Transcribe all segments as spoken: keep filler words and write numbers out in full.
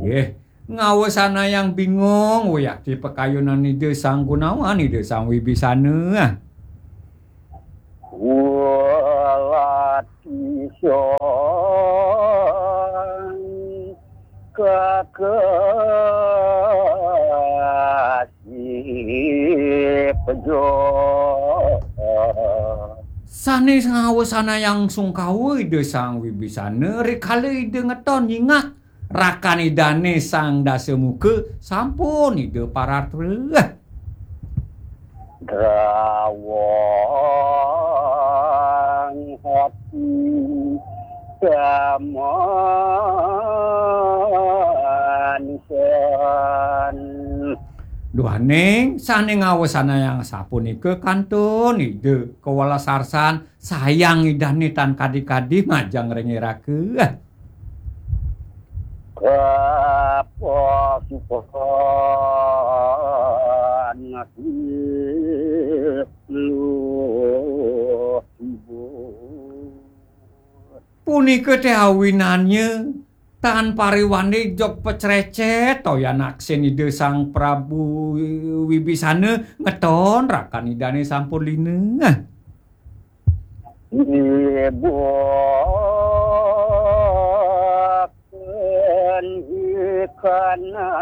Eh, ngawesanayang bingung, wiakti pakayunan Ida Sang Gunawan, Ida Sang Wibisana. Welati Sang Kakasih Pejo. Sané ngawesanayang sungkawa Ida Sang Wibisana, rikala Ida ngeton nyingak rakan Idané Sang Dasamuka, sampun Ida paratra. Drawang hati samansan. Duaning sané ngawesanayang sapunika kantun Ida kawelas arsan, sayang Idané tan kadi-kadi majeng ring iraka. Kapasukan luh ibu. Punika té awinannya tan pariwandi jog pacrécét toyan aksin Ida Sang Prabu Wibisana ngeton rakan Idané sampun lina. Ibu akan ikanang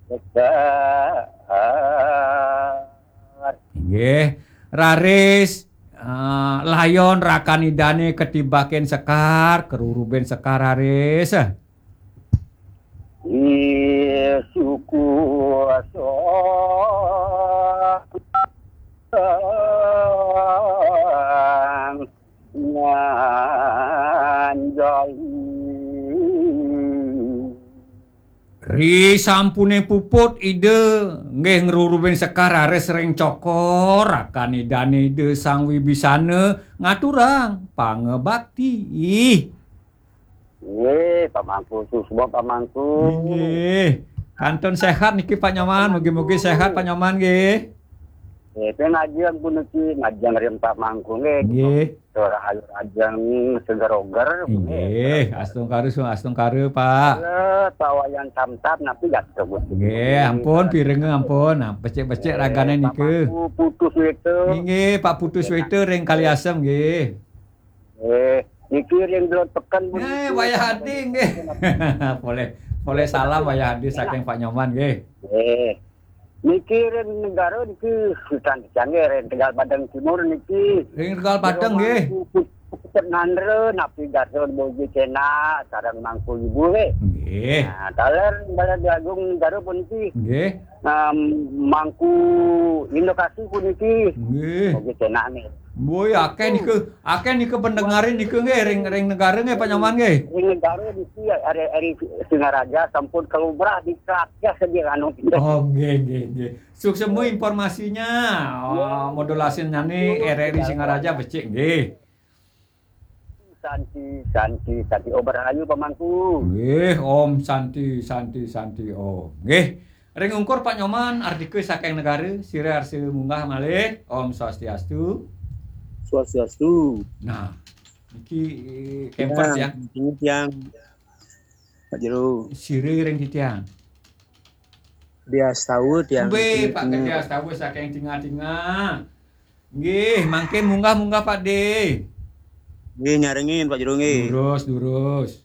besar. Inggih, raris, eh, layon rakan Idané katibakin sekar, karurubin sekar raris. Ih, suku asal nganjali. Ri sampuné puput Ida, nggih ngrurubin sekar raris ring cokor, rakan Idané Ida Sang Wibisana ngaturang pangabakti. Nggih, Pak Mangku, suksma Pak Mangku. Inggih. Kantun séhat niki Pak Nyoman, mugi-mugi séhat Pak Nyoman nggih. Nggih, pun ajeng puniki, majeng ring Pak Mangku nggih. Nggih. Tur ayu ajeng seger oger. Inggih, astungkara, astungkara, Pak. Nggih, Pak Wayan Samsat napi gatra Gusti. Nggih, ampun, pirenga ampun. Nah, becik-becik ragané Pak nika. Mangku Putu Sweta. Inggih, Pak Putu Sweta ring Kaliasem nggih. Eh, niki ring Belod Peken, Bu. Eh, Wayah Adi nggih. Polih, polih salam Wayah Adi saking Pak Nyoman nggih. Eh, niki ring negara niki Sultan Kecang nggih, ring Tegal Padang Timur niki. Ring Tegal Padang nggih. Putut Nandra, napi Gatot Bojo Cena, sareng Mangku Ibu nggih. Nggih. Nah, taler Balai Agung Negara puniki. Nggih. Em, Mangku Indokasi puniki. Nggih. Bojo Cena nggih. Woi, akeh nika, akeh nika pendengarin nika nggih, ring, ring negara nggih, Pak Nyoman nggih. Ring negara niki ari, ari Singaraja sampun kalumrah di Krakyah saja anu. Oh, nggih, nggih, nggih. Suksma informasinya. Oh, modulasinyane R R I Singaraja becik nggih. Santi, santi, santi. Oh, rahayu pamangku. Nggih, Om Santi, Santi, Santi, Om. Nggih. Ring ungkur Pak Nyoman, Ardika saking negara, sira arsa munggah malih. Om Swastiastu. Swastiastu. Nah, niki, eh, kemper ya, tiang. Tiang. Pak Jero. Sira ring titiang. Diastawa tiang. Nggih, Pak Gede Astawa saking Tinga-Tinga. Nggih, mangkin munggah-munggah, Pak De. Nggih, nyarengin, Pak Jero, nggih. Durus, durus.